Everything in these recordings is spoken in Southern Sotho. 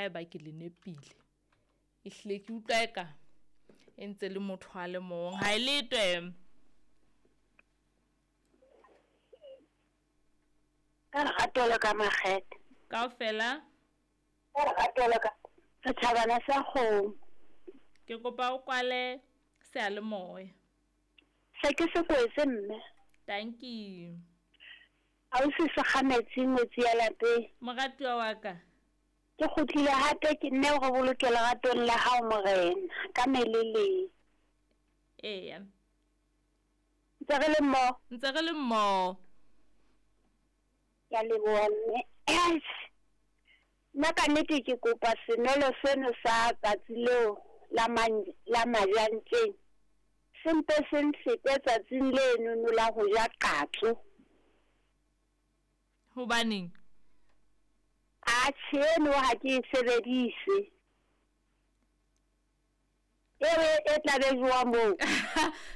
Haeba ke le nepile. Ehlile ke utlwa eka e ntse le motho a le mong. Ha e letwe. Ka lerato le ka makgethe. Kaofela. Ka lerato le ka setjhabana sa kgomo. Ke kopa o kwale seyalemoya. Se ke se kwetse mme. Tanki. Ausi Sekgametsi ngwetsi ya lapeng. Moratuwa wa ka. Ke kgutlile hape ke nne o re boloke leratong la hao Morena ka meleleng. Eya. Ntse re le mmoho. Ntse re le mmoho. Ke a leboha mme. Nna ka nnete ke kopa senwelo seno sa tsatsi leo la la majantjeng se mpe se nfete tsatsing lenono la ho ja qatso. Hobaneng? Atjhe eno ha ke e sebedise. Eo e tla be jowa moo.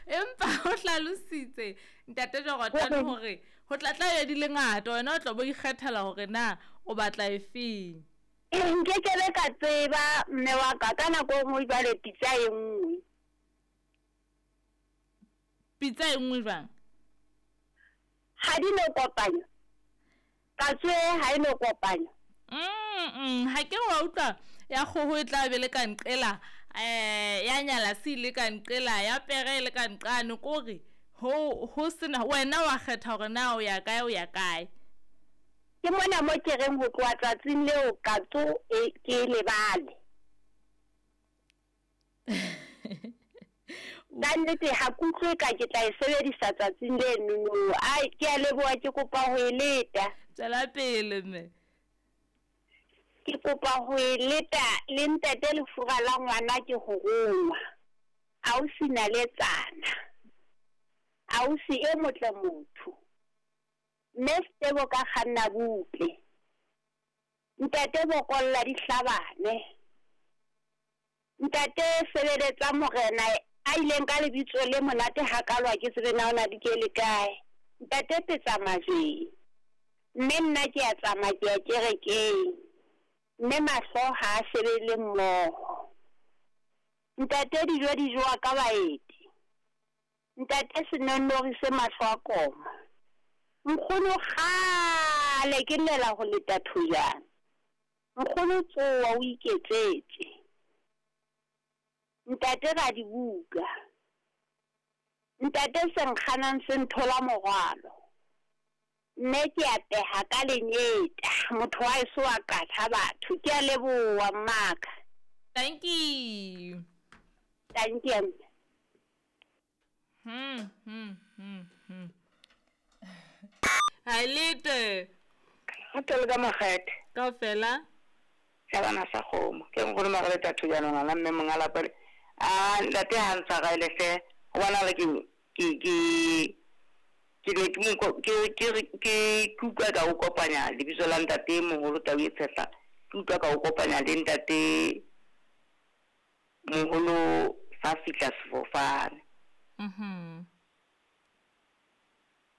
Empa o hlalositse ntate Jordan hore ho tla tla be di le ngata, wena o tla bo ikgethela hore na o batla efeng. Nkekebe ka tseba mme wa ka, ka nako e nngwe jwale pitsa e nngwe. Pitsa e nngwe jwang? Ha di no kopanywa. Katso e ha e no kopanywa. Ha ke re wa utlwa ya kgoho e tla be le ka nqela, ya nyala se ile ka nqela, ya pere e le ka nqane, kore ho ho sena wena wa kgetha hore na o ya kae o ya kae. Ke mona mo ke reng ho tloha tsatsing leo katso e ke e lebale. Ka nnete ha ke utlwe ka ke tla e sebedisa tsatsing lenono. Ai, ke a leboha, ke kopa ho e leta. Tswela pele mme. Ke kopa ho e leta le ntate lefura la ngwana ke ho rongwa. Ausi naletsana. Ausi e motle motho. Mme Setebo ka kganna butle. Ntate bokolla di hlabane. Ntate sebeletsa morena a ileng ka lebitso le monate hakalo ha ke tsebe na o na di ke le kae. Ntate petsa majweng. Mme nna ke a tsamaya ke ya kerekeng. Mme mahlo ha a shebelle mmoho. Ntate dijo di jowa ka baeti. Ntate senonnori se mahlo a koma. Nkgono kgale ke llela ho leta thojana. Nkgono tsoha o iketsetse. Ntate radibuka. Ntate se nkganang se nthola morwalo. Mme ke a peha ka lenyeta. Motho wa eso wa qatha batho. Ke a leboha mmaka. Thank you. Thank you. Ha lete. Hotel ka makgethe. Kaofela. Tjhabana sa kgomo. Ke nkgono Margaret Thujano ngwana mme monga lapa le. A ntate ha ntshwarele hle. Ho bona le ke ke ne ke utlwa ka o kopanya lebitso la ntate moholo Tau e Tshehla. Ke utlwa ka o kopanya le ntate moholo sa fihla sefofane.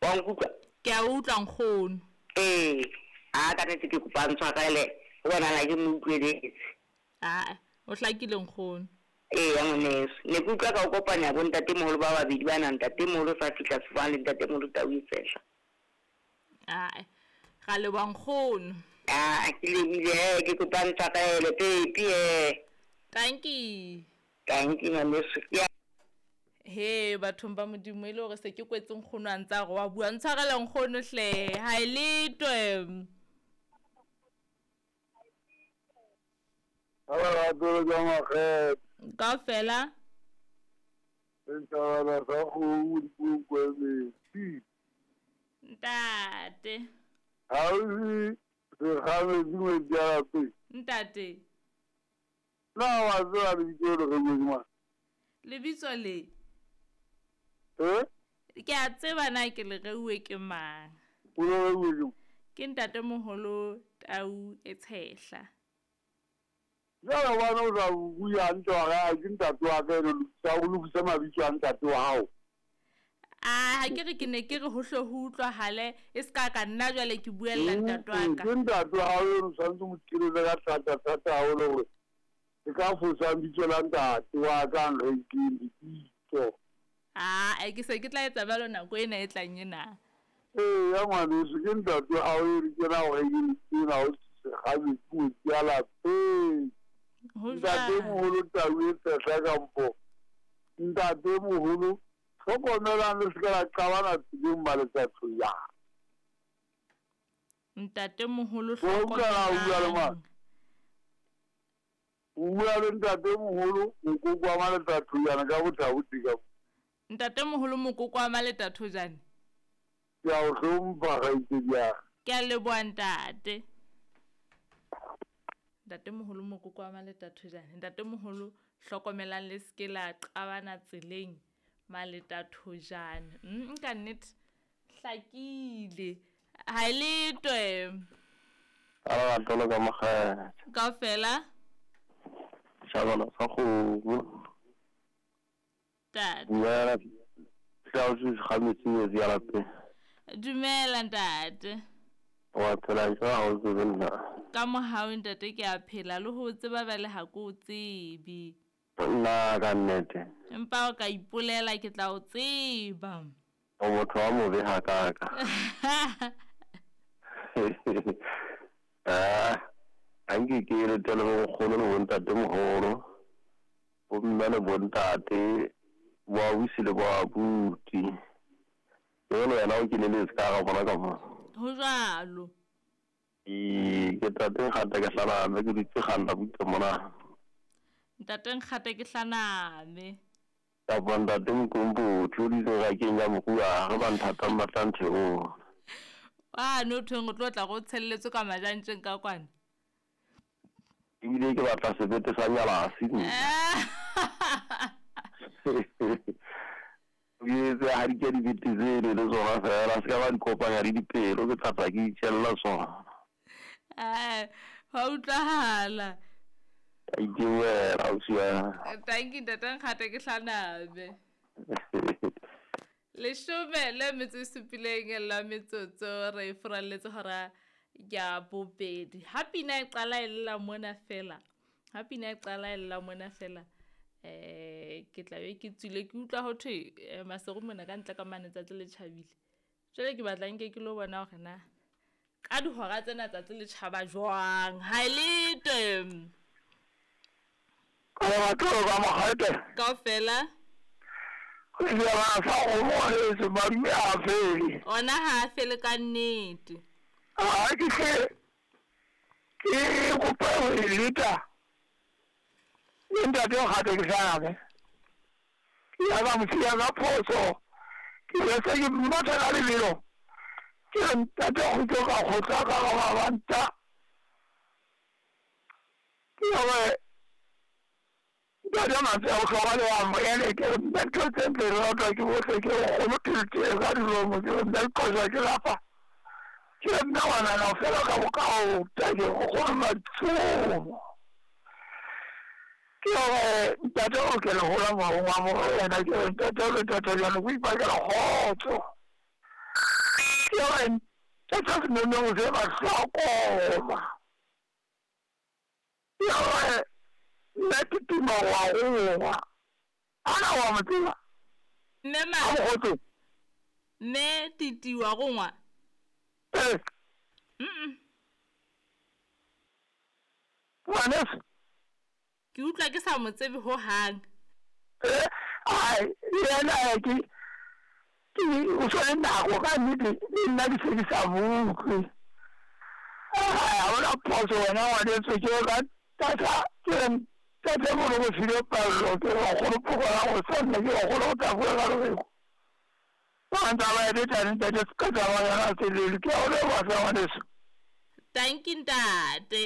Wa nkutlwa? Ke a utlwa nkgono. Ee, a ka nnete ke kopa ntshwarele ho bonahala ke mo utlweletse. Aa, o hlakile nkgono. Ee, ya ngwaneso. Ne ke utlwa ka o kopanya bo ntate moholo ba babedi bana, ntate moholo sa fihla sefofane le ntate moholo Tau e Tshehla. Aa, ra leboha nkgono. Aa, ke lebohile he, ke kopa ntshwarele pepi he. Thank you. Thank you ngwaneso. He bathong ba Modimo e le hore se ke kwetse nkgono a ntsa re wa bua, ntshwarele nkgono hle, ha e letwe. Kaofela. Ntate. Ntate. Na wa tseba lebitso le re mang? Lebitso le? Ke a tseba na ke le reuwe ke mang. O le reuwe ke mang? Ke ntate moholo Tau e Tshehla. Jwale hobane o sa bue hantle wa re ke ntate wa ka eno lokisa, o lokise mabitso a ntate wa hao. A ha ke re ke ne ke re ho hle ho utlwahale e se ka ka nna jwale ke buella ntate wa ka. Ke ntate wa hao eno tshwanetse mo keletse ka thata thata haholo hore ke ka fosang bitso la ntate wa ka nrekeng lebitso. Aa ke se ke tla etsa jwalo nako ena e tlang ena. Ee ya ngwaneso ke ntate wa hao eno ke na o rekeng ena o segabetsi ngwetsi ya lapeng. Ho Ntate jwalo. moholo tau e tshehla kampo ntate moholo hlokomelang le se ke la qabana tseleng maletsathojana. Ntate moholo O utlwa na o bua le mang? hlokomelang. O bua le ntate moholo mokoko wa maletsathojana ka bothabodi ka mo. Ntate moholo mokoko wa maletathojane. Ke a o hlompha kgaitsedi ya ka. Ke a leboha ntate. Ntate moholo mokoko wa maletathojane. Ntate moholo hlokomelang le se ke la qabana tseleng maletathojane. Ka nnete hlakile. Ha e le twe. A lerato le ka mokgetho. Kaofela. Shabana sa kgomo. Ntate. Dumela. Tla o se gametse metsi ya lapeng. Dumela ntate. Wa phela jwang ha o tsebe nna? Ka mohau ntate ke a phela le ho tseba bjale ha ke o tsebe. Nna ka nnete. Empa o ka ipolela ke tla o tseba. O motho wa mobe hakaka. Ha nke ke letele bo nkgono le bontate moholo. Bo mme le bontate, bo ausi le bo abuti. Jwale wena o keneletse ka hara bona ka mo. Ho jwalo. Ee, ke tate Nkgata ke hlaname ke dutse kgalla butle mona. Ntate Nkgata ke hlaname. Kapa ntate Mokompoti o dutse rakeng ya moruwa re ba nthatang ba tla ntheola. Wane o thweng o tlo tla go tshelletswe ka majantjeng ka kwana. Ebile ke batla sebete sa nyalasi nna. Ke etse ha di ke dibete tsele le tsona fela se ka ba di kopanya le dipelo ke tla tla ke itjella tsona. Hwa utlwahala. Ka itewela ausi wa. Thank you ntate Nkgata ke hlaname. Leshome le metso e supileng la metsotso re furalletse hora ya bobedi. Ha pina e qala e lla mona fela. Ha pina e qala e lla mona fela. Ke tla be ke tswile ke utlwa ho thwe Maseru mona ka ntle ka mane tsatsi le tjhabile. Jwale ke batla nke ke lo bona hore na ka dihora tsena tsatsi le tjhaba jwang. Ha e le teng. Ka lerato ka mokgete. Kaofela. Ke sa kgomo heso madume a fele. Ona ha a fele ka nnete. Ha ke hle ke kopa ho e leta. Le ntate Nkgata ke hlaname. Ke ya ka mosiya ka phoso. Ke be se ke mmatha ka lebelo. Ke re ntate kgutlo ka kgotla ka ga mabanta. Ke hore ntate mantswe a bohlokwa le wa moele ke re nna ntho tse ntle re ratwa ke bohle ke re kgomo ke ka dilomo ke re nna qosa ke lapa. Ke re nna ngwanana o fela ka bokaota ke re kgolo matsomo. Ke hore ntate o ke le hola moahong wa morena ke re ntate o le ntate jwale o ipakela kgotso. Ke hore ntate senonong se mahlokoma. Ke hore nna ke tuma wa gongwa. Ana wa mo tseba? Mme ma. A mokgotso. Mme Titi wa gongwa. Ee. Ngwaneso. Ke utlwa ke sa mo tsebe hohang. Ai, yena ke o tshwere nako ka nnete le nna ke se ke sa mo utlwe. Ha hona phoso wena ngwaneso ke ka tata ke re ntate Moloko file pallo ke re nkgono phokola go sanna ke re nkgono o tla bua ka lobeko. Ba ntse ba etsa ntate se ka tsamaya yona tseleng ke a o leboha hle ngwaneso. Thank you ntate.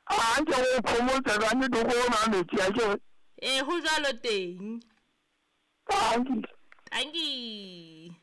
A nke go phomotse ka nnete ko nwa metsi a ke re. Ee ho jwalo teng. Thank you. Thank you.